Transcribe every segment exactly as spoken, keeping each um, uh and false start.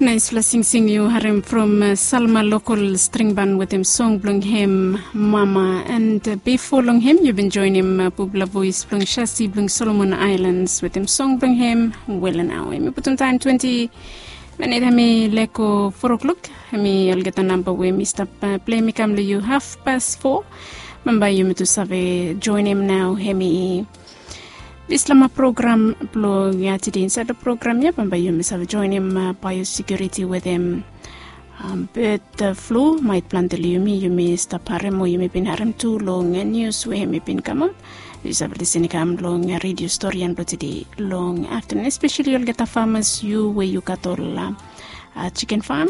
Naispela singsing yu harim from Salma Lokol Stringban wetem song blong hem Mama, and bifo long hem yu bin joinim bubla voes blong Shasi blong Solomon Islands wetem song blong hem Welenau. Hem i putum taim twenti minit hem i leko four o'clock. Hem i olgeta namba we mi stap pleim i kam long yu haf pas four. Bambae yumi tu save joinim nau hem i dislama program blong ya tede. Insaed long program ya bambae yumi save joinim biosekuriti wetem bed flu maet plante long yumi yumi stap harim o yumi bin harim tu long nius we hem i bin kamap. Yu save lisin i kam long redio storian blong tede long aftanun, espeseli olgeta famas yu we yu gat ol chiken fam.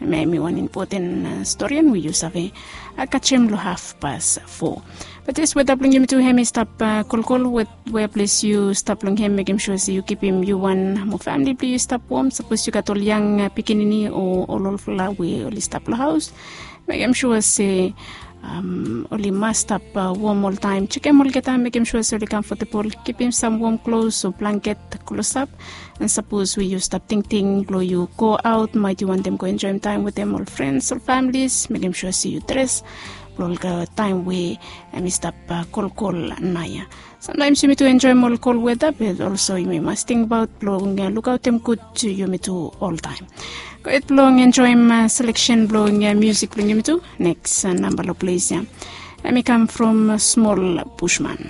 Em i wan impoten storian we yu save kajem long haf pas four. Bat yes, weda blong yumi tu hem i stap kolkol. Wea ples yu stap long hem mekim sua se yu kipim yu wan mo famili blong yu i stap wom. Sapos yu gat ol yang pikinini o ol olfala we oli stap long haos, mekim sua se oli mas stap wom oltaim. Jekem olgeta, mekim sua se oli kamfotabol. Kipim sam wom klos o blanket klosap. An sapos we yu stap tingting blong yu go aot, maet yu wantem go enjoim taim wetem ol frens ol familis, mekim sua se yu dres blong ol taim we em i stap kolkol naoia. Samtaims yumi tu enjoim ol kol weda, be olso yumi mas tingbaot blong lukaotem gud yumi tu oltaim. Go hed blong enjoim seleksen blong musik blong yumi tu. Neks namba long ples ya em i kam from Smol Bushman.